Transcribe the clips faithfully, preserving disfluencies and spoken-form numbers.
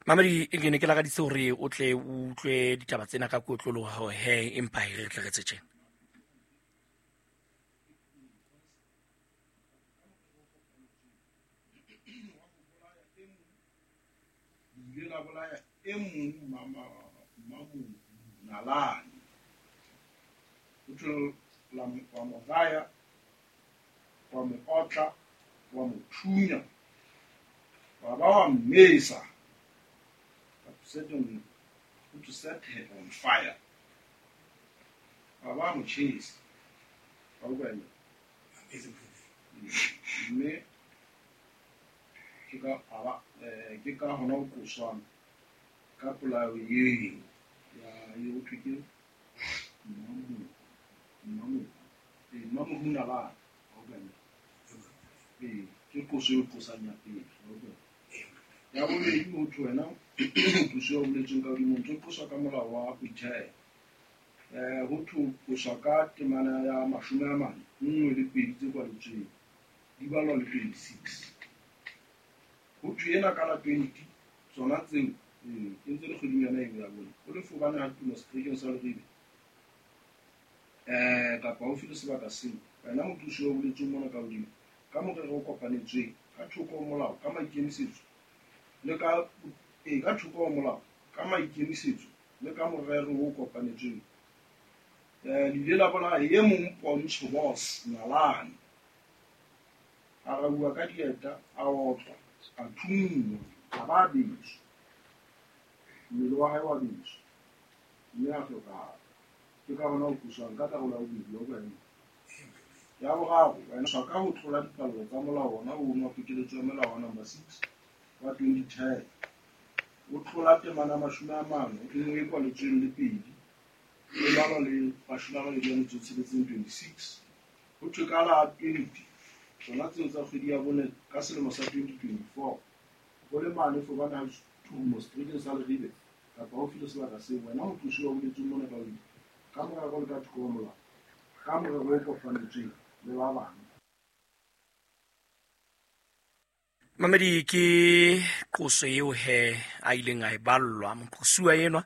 Mamedi, ke ne ke lakaditse hore o tle o utlwe ditaba tsena ka kotloloho he, empa e re tle re tse tjena. Ile la bolaya e mong mama mamu nalane. O thwe la mo wa mo raya, wa mo otla, wa mo thunya, wa ba wa mmesa. Set on, to set her on fire. Wa ba mo chase. Wa utlwa eng? Mme ke ka a ba, eh, ke ka hona ho qoswang ka polao eo ya e ho thwe ke Mmamohu, Mmamohu, eh, Mmamohu Nalane. Wa utlwa eng? Ee, ke qoso eo qosang ya pele. Wa utlwa eng? Ya bobedi ho thwe wena qoso eo boletsweng ka hodimo, o ntso qoswa ka molao wa boithaelo. Eh, ho thwe qoswa ka temana ya mashome a mane, nngwe le pedi tse kwaletsweng, di balwa le twenty-six. Ho thwe ena ka la twenty, tsona tseo, eh, e ntse le kgweding yona eo ya bone. O le fobane ha tumo seterekeng sa Leribe, eh, kapa haufi le sebaka seo, wena moqosi o boletsweng mona ka hodimo, ka morero o kopanetsweng, ka thoko ho molao, ka maikemisetso, le ka, eh, ka thoko ho molao, ka maikemisetso, le ka morero o kopanetsweng. Eh, le ile la bolaya e mong Pontsho Boss Nalane. A rauwa ka dieta, a otlwa, a thunngwa, a ba a beswa. Mmele wa hae wa beswa, mme a hlokahala. Ke ka hona ho qoswang ka karolo ya bobedi, wa utlwa eng? Ya boraro, wena swa ka ho tlola dipallo tsa molao ona ono wa pokeletso ya molao wa number six wa twenty ten. O tlola temana mashome a mane, nngwe e kwaletsweng le pedi, e balwa le mashome a mabedi a metso e tsheletseng, twenty-six. Ho thwe ka la twenty, tsona tseo tsa kgwedi ya bone ka selemo sa twenty twenty-four, ho le mane fobane ha tumo seterekeng sa Leribe kapa haufi le sebaka seo, wena moqosi wa boletsweng mona ka hodimo, ka morero le ka thoko ho molao, ka morero o kopanetsweng le ba bang. Mamedi, ke qoso eo he a ileng a e ballwa moqosuwa enwa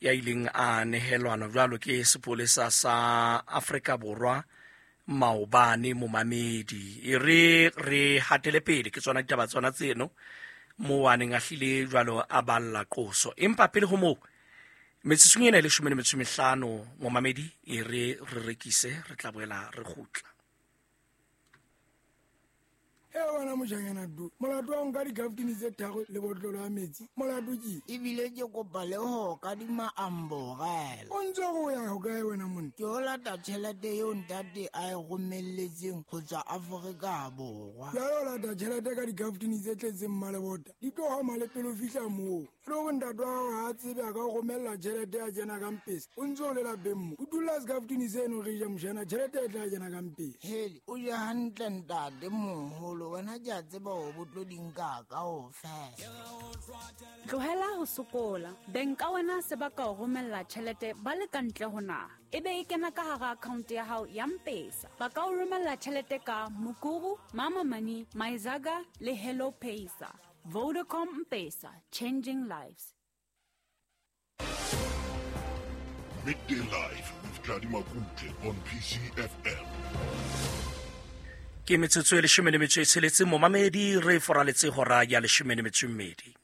ya ileng a nehelwana jwalo ke sepolesa sa Afrika Borwa maobane. Momamedi, e re re hatele pele ke tsona ditaba tsona tseno moo a neng a hlile jwalo a balla qoso. Empa pele ho moo, metsotsong ena e leshome le metso e mehlano, momamedi, e re re rekise, re tla boela re kgutla. E wena mojanyana du, molato wa ho nka dikhaftini tse tharo le botlolo ya metsi, molato ke? Ebile ke kopa le ho kadima amborela. O ntse o ya hokae wena monna? Ke o lata tjhelete eo ntate a e romelletseng ho tswa Afrika Borwa. Jwale o lata tjhelete ka dikhaftini tse tletseng mmalebota, di tlo hama le pele o fihla moo. E le hore ntate wa hao ha a tsebe a ka o romella tjhelete ya kena ka mpesa, o ntse o le lapeng mo. O dula sekaftini seno re ja mojana, tjhelete e tla kena ka mpesa. Hele, o je hantle ntate moholo, wena ke a tseba hore bo tlo di nka kaofela. Tlohela ho sokola. Beng ka wena se ba ka o romella tjhelete ba le ka ntle ho naha, e be e kena ka hara account ya hao ya M-Pesa. Ba ka o romella tjhelete ka Mukuru, Mama Money, Myzaga le Hello Pesa. Vodacom M-Pesa, changing lives. Midday Live with Tladi Makutle on P C F M. Ke metsotso e leshome le metso e tsheletseng, momamedi, re foraletse hora ya leshome le metso e mmedi.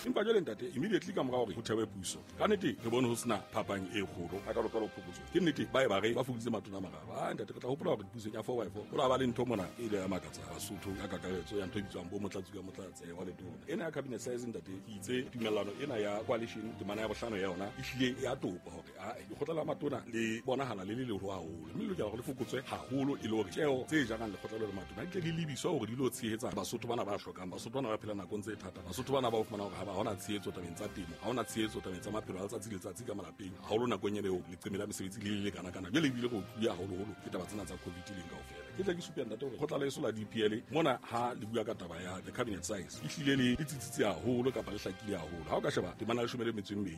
Empa jwale ntate, immediately ka mora hore ho thewe puso, ka nnete re bone ho sena phapang e kgolo ha kalokalo phokotso. Ke nnete ba e ba re ba fokoditse matona a mararo. Ah, ntate, re tla hopola hore pusong ya four by four ho la ba le ntho mona e ile ya makatsa Basotho ka kakaretso ya ntho e bitswang bo motlatsi ka motlatse wa letona. Ena ya cabinet size ntate, ke itse tumellano ena ya coalition temana ya bohlano ya yona e hlile ya topa hore, ah, lekgotla la matona le bonahala le le leholo haholo, mme le lokela hore le fokotswe haholo e le hore tjeo tse jarang lekgotla le matona di tle di lebiswe hore di lo tshehetsa Basotho bana ba hlokang, Basotho bana ba phelang nakong tse thata, Basotho bana ba o fumana hore ha ba hona tshehetso tabeng tsa temo, ha hona tshehetso tabeng tsa maphelo a letsatsi le letsatsi ka malapeng, haholo nakong ena eo leqeme la mesebetsi le le lekana kana. Jwale ebile re utlwile haholoholo ke taba tsena tsa COVID leng kaofela. Ke tla ke supe ntate hore kgotla la heso la D P L mona ha le bua ka taba ya the cabinet size e hlile le le tsitsitse haholo kapa le hlakile haholo. Ha o ka sheba temana ya leshome le metso e mmedi